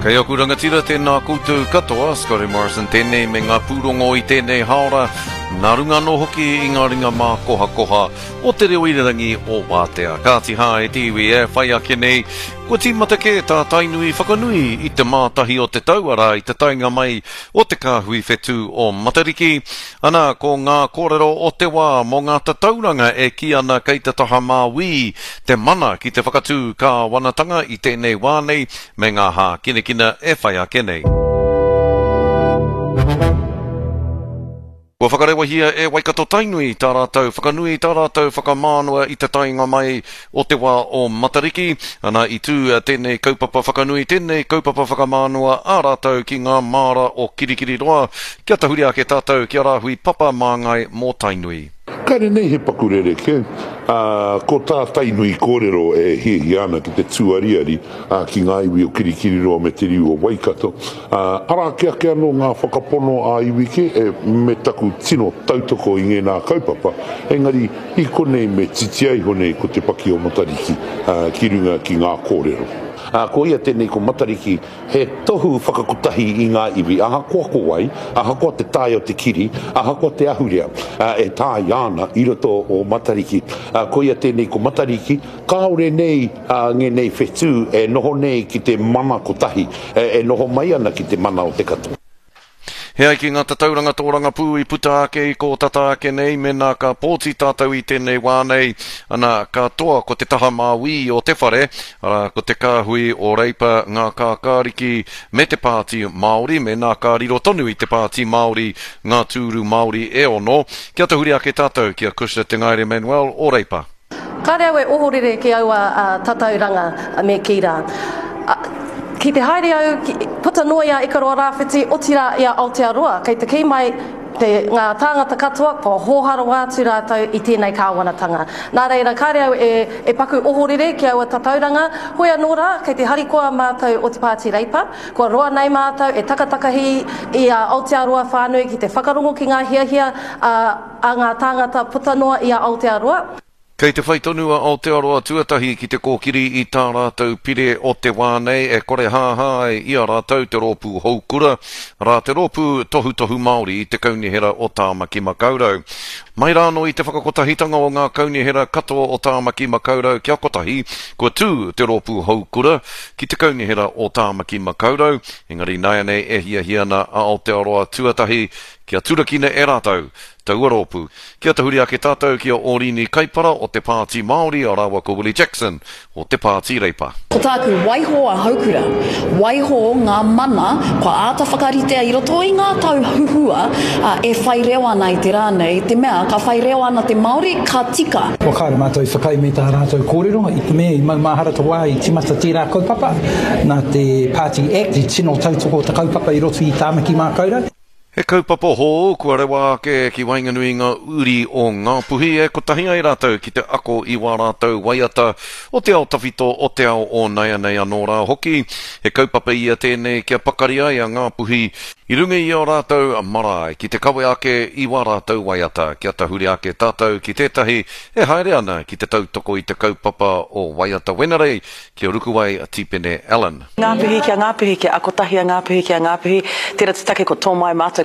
Kei aku rangatira, tēnā koutou katoa, Scotty Morrison tēnei me ngā pūrongo i tēnei haora, nā runga anō hoki i ngā ringa mākohakoha o te reo irirangi o Wātea. Kāti hā e te iwi e whai ake nei, kua tīmata kē tā Tainui whakanui i te mātahi o te tau, arā i te taenga mai o te kāhui whetū o Matariki. Ana, ko ngā kōrero o te wā mō ngā tatauranga e kī ana kei te taha māuī te mana ki te whakatū kāwanatanga i tēnei wā nei, me ngā hākinakina e whai ake nei. Kua whakarewahia e Waikato-Tainui tā rātou whakanui, tā rātou whakamānawa i te taenga mai o te wā o Matariki. Ana, i tū tēnei kaupapa whakanui, tēnei kaupapa whakamānawa a rātou ki ngā māra o Kirikiriroa, kia tahuri ake tātou ki a Rāhui Papa Māngai mō Tainui. Kāre nei he paku rerekē, ā, ko tā Tainui kōrero e hiahia ana ki te tūariari ki ngā iwi o Kirikiriroa me te riu o Waikato, ā, arā ake ake anō ngā whakapono ā-iwi kē, e, me taku tino tautoko i ngēnā kaupapa, engari i konei me titia iho nei ko Te Paki o Matariki, ā, ki runga ki ngā kōrero. Ā, ko ia tēnei ko Matariki, He tohu whakakotahi i ngā iwi, ahakoa ko wai, ahakoa te tae o te kiri, ahakoa te ahurea e tāia ana i roto o Matariki. Koia tēnei ko Matariki, kāore nei ngēnei whetū e noho nei ki te mana kotahi, e noho mai ana ki te mana o te katoa. He ai ki ngā tatauranga tōrangapū i puta ake i kō tata ake nei, mēnā ka pōti tātou i tēnei wā nei, ana, ka toa ko te taha māuī o te whare, arā, ko te kāhui o Reipa, Ngā Kākāriki me te Pāti Māori, mēnā ka riro tonu i te Pāti Māori ngā tūru Māori e ono, kia tahuri ake tātou ki a Cushna Te Ngaere Manuel o Reipa. Kāre au e ohorere ki aua tatauranga me kī rā. Ki te haere au, puta noa i a Ikaroa Rāwhiti, otirā i a Aotearoa, kei te kī mai te, ngā tāngata katoa kua hōhā rawa atu rātou i tēnei kāwanatanga. Nā reira, kāre au e, e paku ohorere ki aua tatauranga, hoi anō rā, kei te harikoa mātou o te Pāti Reipa, kua roa nei mātou e takatakahi i a Aotearoa whānui ki te whakarongo ki ngā hiahia a, a ngā tāngata puta noa i a Aotearoa. Kei te whai tonu a Aotearoa Tuatahi ki te kōkiri i tā rātou pire o te wā nei e korehāhā ai i a rātou te rōpū Houkura, arā te rōpū tohutohu Māori i te Kaunihera o Tāmaki Makaurau. Mai rānō i te whakakotahitanga o ngā kaunihera katoa o Tāmaki Makaurau kia kotahi, kua tū te rōpū Houkura ki te Kaunihera o Tāmaki Makaurau, engari nāianei e hiahia ana a Aotearoa Tuatahi Kia turakina e rātou taua rōpū. Kia tahuri ake tātou ki a Ōrini Kaipara o te Pāti Māori rāua ko Willie Jackson o te Pāti Reipa. Ko tāku, waiho a Houkura, waiho ngā mana kua āta whakaritea i roto i ngā tau huhua e whai reo ana i te rā nei, i te mea ka whai reo ana te Māori, ka tika. Kua kāre mātou i whakaae me tā rātou kōrero, i te mea i maumahara te wā i tīmata tērā kaupapa, nā te Pāti Act i tino tautoko te kaupapa i roto i Tāmaki Mākaurau. He kaupapa hou kua rewa ake ki waenganui i ngā uri o Ngāpuhi e kotahi ai rātou ki te ako i wā rātou waiata o te ao tawhito, o te ao o naianei anō rā hoki. He kaupapa ia tēnei kia pakari ai a Ngāpuhi i runga i ō rātou marae ki te kawe ake i wā rātou waiata. Kia tahuri ake tātou ki tētahi e haere ana ki te tautoko i te kaupapa o Waiata Wenerei ki a Rukuwai Tipene Allen. Ngāpuhi kia Ngāpuhi kia ako tahi a Ngāpuhi ki a Ngāpuhi. Tērā te take ko tō mai mātou.